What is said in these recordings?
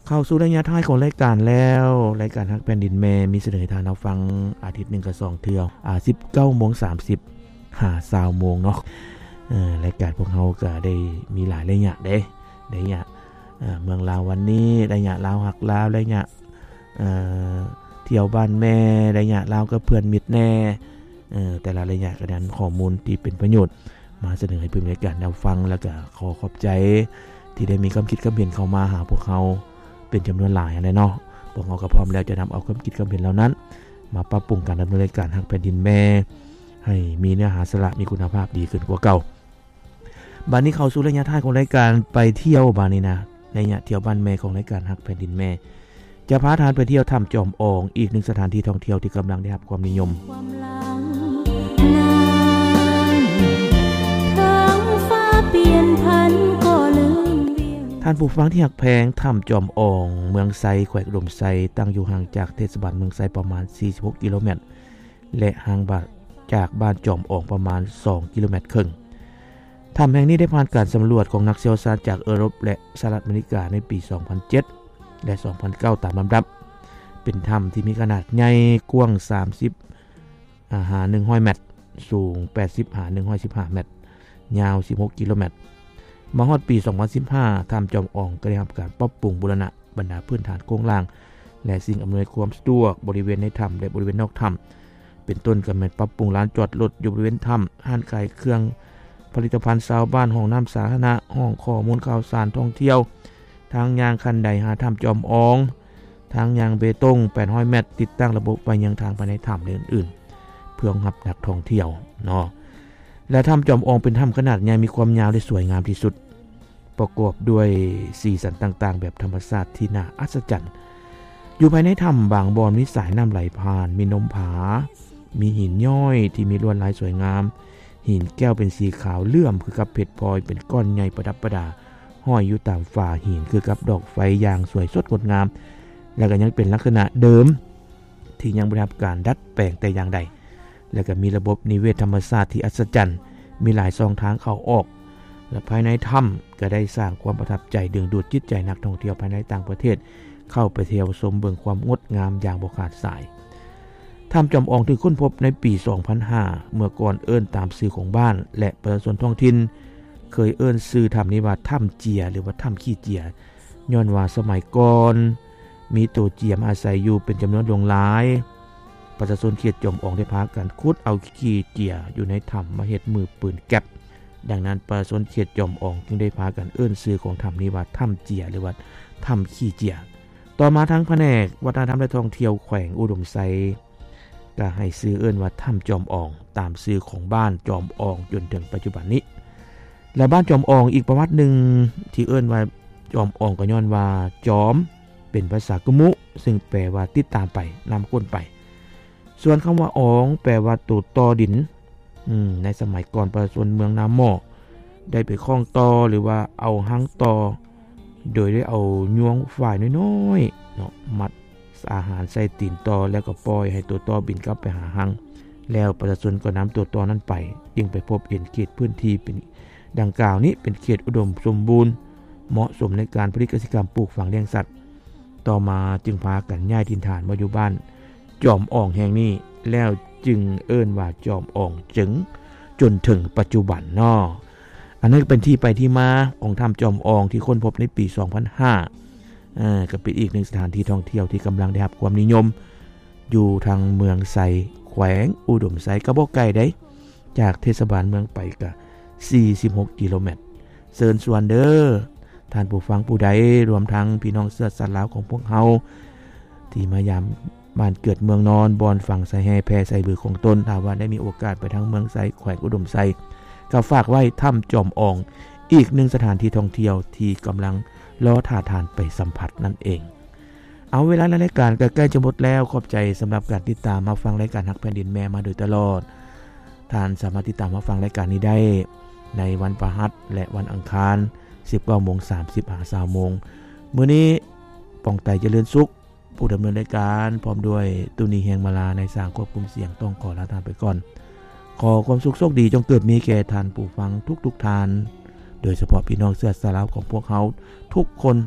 ເຂົ້າສູ່ໄລຍະທ້າຍຂອງລາຍການແລ້ວ. ລາຍການຮັກແຜ່ນດິນແມ່ມີສະເໜີໃຫ້ທ່ານຮັບຟັງອາທິດໜຶ່ງກໍສອງເທື່ອ ອາ ສິບເກົ້າໂມງສາມສິບຫາຊາວໂມງເນາະ. ເອີ ລາຍການພວກເຮົາກໍໄດ້ມີຫຼາຍໄລຍະເດ້ ໄລຍະ ເອີ ເມືອງລາວວັນນີ້, ໄລຍະລາວຮັກລາວ, ໄລຍະ ເອີ ທ່ຽວບ້ານແມ່, ໄລຍະລາວກັບເພື່ອນມິດແດ່. ເອີ ແຕ່ລະໄລຍະກໍໄດ້ນຳຂໍ້ມູນທີ່ເປັນປະໂຫຍດມາສະເໜີໃຫ້ຜູ້ດຳເນີນລາຍການໄດ້ຮັບຟັງ ແລ້ວກໍຂໍຂອບໃຈທີ່ໄດ້ມີຄວາມຄິດຄວາມເຫັນເຂົ້າມາຫາພວກເຮົາເປັນຈຳນວນຫຼາຍຫັ້ນແຫຼະເນາະ. ພວກເຮົາກໍພ້ອມແລ້ວຈະນຳເອົາຄວາມຄິດຄວາມເຫັນເຫຼົ່ານັ້ນມາປັບປຸງການດຳເນີນລາຍການຮັກແຜ່ນດິນແມ່ ໃຫ້ມີເນື້ອຫາສາລະ ມີຄຸນນະພາບດີຂຶ້ນກວ່າເກົ່າ. ບາດນີ້ເຂົ້າສູ່ໄລຍະທ້າຍຂອງລາຍການໄປທ່ຽວບາດນີ້ນະ, ໄລຍະທ່ຽວບ້ານແມ່ຂອງລາຍການຮັກແຜ່ນດິນແມ່ ຈະພາທ່ານໄປທ່ຽວຖ້ຳຈອມອອງ, ອີກໜຶ່ງສະຖານທີ່ທ່ອງທ່ຽວທີ່ກຳລັງໄດ້ຮັບຄວາມນິຍົມ. ຄວາມຫຼັງນັ້ນ ເຖິງຟ້າປ່ຽນຜັນກໍລືມວຽງ. ທ່ານຜູ້ຟັງທີ່ຮັກແພງ, ຖ້ຳຈອມອອງ ເມືອງໄຊ ແຂວງອຸດົມໄຊ ຕັ້ງຢູ່ຫ່າງຈາກເທດສະບານເມືອງໄຊປະມານສີ່ສິບຫົກກິໂລແມັດ ແລະ ຫ່າງບາດ ຈາກບ້ານຈອມອອງປະມານສອງກິໂລແມັດເຄິ່ງ. ຖ້ຳແຫ່ງນີ້ໄດ້ຜ່ານການສຳຫຼວດຂອງນັກຊ່ຽວຊານຈາກເອີຣົບ ແລະ ສະຫະລັດອາເມລິກາໃນປີສອງພັນເຈັດ ແລະ ສອງພັນເກົ້າຕາມລຳດັບ. ເປັນຖ້ຳທີ່ມີຂະໜາດໃຫຍ່, ກວ້າງສາມສິບຫາໜຶ່ງຮ້ອຍແມັດ, ສູງແປດສິບຫາໜຶ່ງຮ້ອຍສິບຫ້າແມັດ, ຍາວສິບຫົກກິໂລແມັດ. ມາຮອດປີສອງພັນສິບຫ້າ ຖ້ຳຈອມອອງກໍໄດ້ຮັບການປັບປຸງບູລະນະ ບັນດາພື້ນຖານໂຄງລ່າງ ແລະ ສິ່ງອຳນວຍຄວາມສະດວກບໍລິເວນໃນຖ້ຳ ແລະ ບໍລິເວນນອກຖ້ຳ ເປັນຕົ້ນກໍແມ່ນປັບປຸງລານຈອດລົດຢູ່ບໍລິເວນຖ້ຳ, ຮ້ານຂາຍເຄື່ອງຜະລິດຕະພັນຊາວບ້ານ, ຫ້ອງນ້ຳສາທາລະນະ, ຫ້ອງຂໍ້ມູນຂ່າວສານທ່ອງທ່ຽວ, ທາງຍ່າງຂັ້ນໄດຫາຖ້ຳຈອມອອງ, ທາງຍ່າງເບຕົງແປດຮ້ອຍແມັດ, ຕິດຕັ້ງລະບົບໄຟເຍືອງທາງພາຍໃນຖ້ຳ ແລະ ອື່ນໆ ເພື່ອຮອງຮັບນັກທ່ອງທ່ຽວເນາະ. ແລະ ຖ້ຳຈອມອອງເປັນຖ້ຳຂະໜາດໃຫຍ່, ມີຄວາມຍາວ ແລະ ສວຍງາມທີ່ສຸດ. ປະກອບດ້ວຍສີສັນຕ່າງໆແບບທຳມະຊາດທີ່ໜ້າອັດສະຈັນ. ຢູ່ພາຍໃນຖ້ຳບາງບ່ອນມີສາຍນ້ຳໄຫຼຜ່ານ, ມີນົມຜາ, ມີຫີນຍ້ອຍທີ່ມີລວດລາຍສວຍງາມ, ຫີນແກ້ວເປັນສີຂາວເຫຼື້ອມຄືກັບເພັດພອຍ, ເປັນກ້ອນໃຫຍ່ປະດັບປະດາ, ຫ້ອຍຢູ່ຕາມຝາຫີນຄືກັບດອກໄຟຢ່າງສວຍສົດງົດງາມ, ແລະ ກໍຍັງເປັນລັກສະນະເດີມ ທີ່ຍັງບໍ່ໄດ້ຮັບການດັດແປງແຕ່ຢ່າງໃດ ແລະ ກໍມີລະບົບນິເວດທຳມະຊາດທີ່ອັດສະຈັນ, ມີຫຼາຍຊ່ອງທາງເຂົ້າອອກ ແລະ ພາຍໃນຖ້ຳກໍໄດ້ສ້າງຄວາມປະທັບໃຈດຶງດູດຈິດໃຈນັກທ່ອງທ່ຽວພາຍໃນຕ່າງປະເທດເຂົ້າໄປທ່ຽວຊົມເບິ່ງຄວາມງົດງາມຢ່າງບໍ່ຂາດສາຍ. ຖ້ຳຈອມອອງຖືກຄົ້ນພົບໃນປີສອງພັນຫ້າ ເມື່ອກ່ອນເອີ້ນຕາມຊື່ຂອງບ້ານ ແລະ ປະຊາຊົນທ້ອງຖິ່ນເຄີຍເອີ້ນຊື່ຖ້ຳນີ້ວ່າຖ້ຳເຈຍ ຫຼືວ່າຖ້ຳຂີ້ເຈຍ ຍ້ອນວ່າສະໄໝກ່ອນມີໂຕເຈຍມາອາໄສຢູ່ເປັນຈຳນວນຫຼວງຫຼາຍ. ປະຊາຊົນເຂດຈອມອອງໄດ້ພາກັນຂຸດເອົາຂີ້ເຈຍຢູ່ໃນຖ້ຳມາເຮັດມືປືນແກັບ. ດັ່ງນັ້ນ ປະຊາຊົນເຂດຈອມອອງຈຶ່ງໄດ້ພາກັນເອີ້ນຊື່ຂອງຖ້ຳນີ້ວ່າຖ້ຳເຈຍ ຫຼືວ່າຖ້ຳຂີ້ເຈຍ. ຕໍ່ມາທາງພະແນກວັດທະນະທຳ ແລະ ທ່ອງທ່ຽວແຂວງອຸດົມໄຊ ກໍໃຫ້ຊື່ເອີ້ນວ່າຖ້ຳຈອມອອງ ຕາມຊື່ຂອງບ້ານຈອມອອງຈົນເຖິງປັດຈຸບັນນີ້. ແລະ ບ້ານຈອມອອງ ອີກປະຫວັດໜຶ່ງທີ່ເອີ້ນວ່າຈອມອອງ ກໍຍ້ອນວ່າຈອມເປັນພາສາກຶມຸ ຊຶ່ງແປວ່າຕິດຕາມໄປ, ນຳກົ້ນໄປ. ສ່ວນຄຳວ່າອອງ ແປວ່າໂຕຕໍ່ດິນ. ອືມ ໃນສະໄໝກ່ອນ ປະຊາຊົນເມືອງນາໝໍ້ໄດ້ໄປຄ້ອງຕໍ່ ຫຼືວ່າເອົາຮັງຕໍ່ ໂດຍໄດ້ເອົາຍວງຝ້າຍນ້ອຍໆເນາະ ມັດອາຫານໃສ່ຕີນຕໍ່ ແລ້ວກໍປ່ອຍໃຫ້ໂຕຕໍ່ບິນກັບໄປຫາຮັງ. ແລ້ວປະຊາຊົນກໍນຳໂຕຕໍ່ນັ້ນໄປ, ຈຶ່ງໄປພົບເຫັນເຂດພື້ນທີ່ເປັນດັ່ງກ່າວນີ້ເປັນເຂດອຸດົມສົມບູນ, ເໝາະສົມໃນການຜະລິດກະສິກຳ, ປູກຝັງ, ລ້ຽງສັດ. ຕໍ່ມາຈຶ່ງພາກັນຍ້າຍຖິ່ນຖານມາຢູ່ບ້ານຈອມອອງແຫ່ງນີ້ ແລ້ວຈຶ່ງເອີ້ນວ່າຈອມອອງເຈິງ ຈົນເຖິງປັດຈຸບັນເນາະ. ອັນນັ້ນກໍເປັນທີ່ໄປທີ່ມາຂອງຖ້ຳຈອມອອງທີ່ຄົ້ນພົບໃນປີສອງພັນຫ້າ ເອີ ກໍເປັນອີກໜຶ່ງສະຖານທີ່ທ່ອງທ່ຽວທີ່ກຳລັງໄດ້ຮັບຄວາມນິຍົມ ຢູ່ທາງເມືອງໄຊ ແຂວງອຸດົມໄຊ ກໍບໍ່ໄກໃດ ຈາກເທດສະບານເມືອງໄປກະສີ່ສິບຫົກກິໂລແມັດ. ເຊີນຊວນເດີ້ ທ່ານຜູ້ຟັງຜູ້ໃດ ລວມທັງພີ່ນ້ອງເຊື້ອຊາດລາວຂອງພວກເຮົາ ທີ່ມາຢາມບ້ານເກີດເມືອງນອນ ບ່ອນຝັງສາຍແຮ່ແຜ່ສາຍບືຂອງຕົນ, ຖ້າວ່າໄດ້ມີໂອກາດໄປທາງເມືອງໄຊ ແຂວງອຸດົມໄຊ ກໍຝາກໄວ້ຖ້ຳຈອມອອງ ອີກໜຶ່ງສະຖານທີ່ທ່ອງທ່ຽວທີ່ກຳລັງລໍຖ້າທ່ານໄປສຳຜັດນັ້ນເອງ. ເອົາ ເວລາໃນລາຍການກໍໃກ້ຈະໝົດແລ້ວ. ຂອບໃຈສຳລັບການຕິດຕາມຮັບຟັງລາຍການຮັກແຜ່ນດິນແມ່ມາໂດຍຕະຫຼອດ. ທ່ານສາມາດຕິດຕາມຮັບຟັງລາຍການນີ້ໄດ້ໃນວັນພະຫັດ ແລະ ວັນອັງຄານ ສິບເກົ້າໂມງສາມສິບຫາຊາວໂມງ. ມື້ນີ້ ປອງໄຕ ຈະເລີນສຸກ ຜູ້ດຳເນີນລາຍການ ພ້ອມດ້ວຍ ຕຸນີ ແຮງມາລາ ນາຍຊ່າງຄວບຄຸມສຽງ ຕ້ອງຂໍລາທ່ານໄປກ່ອນ. ຂໍຄວາມສຸກໂຊກດີຈົ່ງເກີດມີແກ່ທ່ານຜູ້ຟັງທຸກໆທ່ານ, ໂດຍສະເພາະພີ່ນ້ອງເຊື້ອຊາດລາວຂອງພວກເຮົາທຸກຄົນ.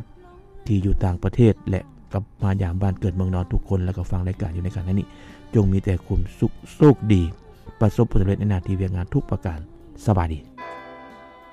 ທີ່ຢູ່ຕ່າງປະເທດ ແລະ ກັບມາຢາມບ້ານເກີດເມືອງນອນທຸກຄົນ ແລະ ກໍຟັງລາຍການຢູ່ໃນຂະນະນີ້ ຈົ່ງມີແຕ່ຄວາມສຸກໂຊກດີ ປະສົບຜົນສຳເລັດໃນໜ້າທີ່ວຽກງານທຸກປະການ. ສະບາຍດີ.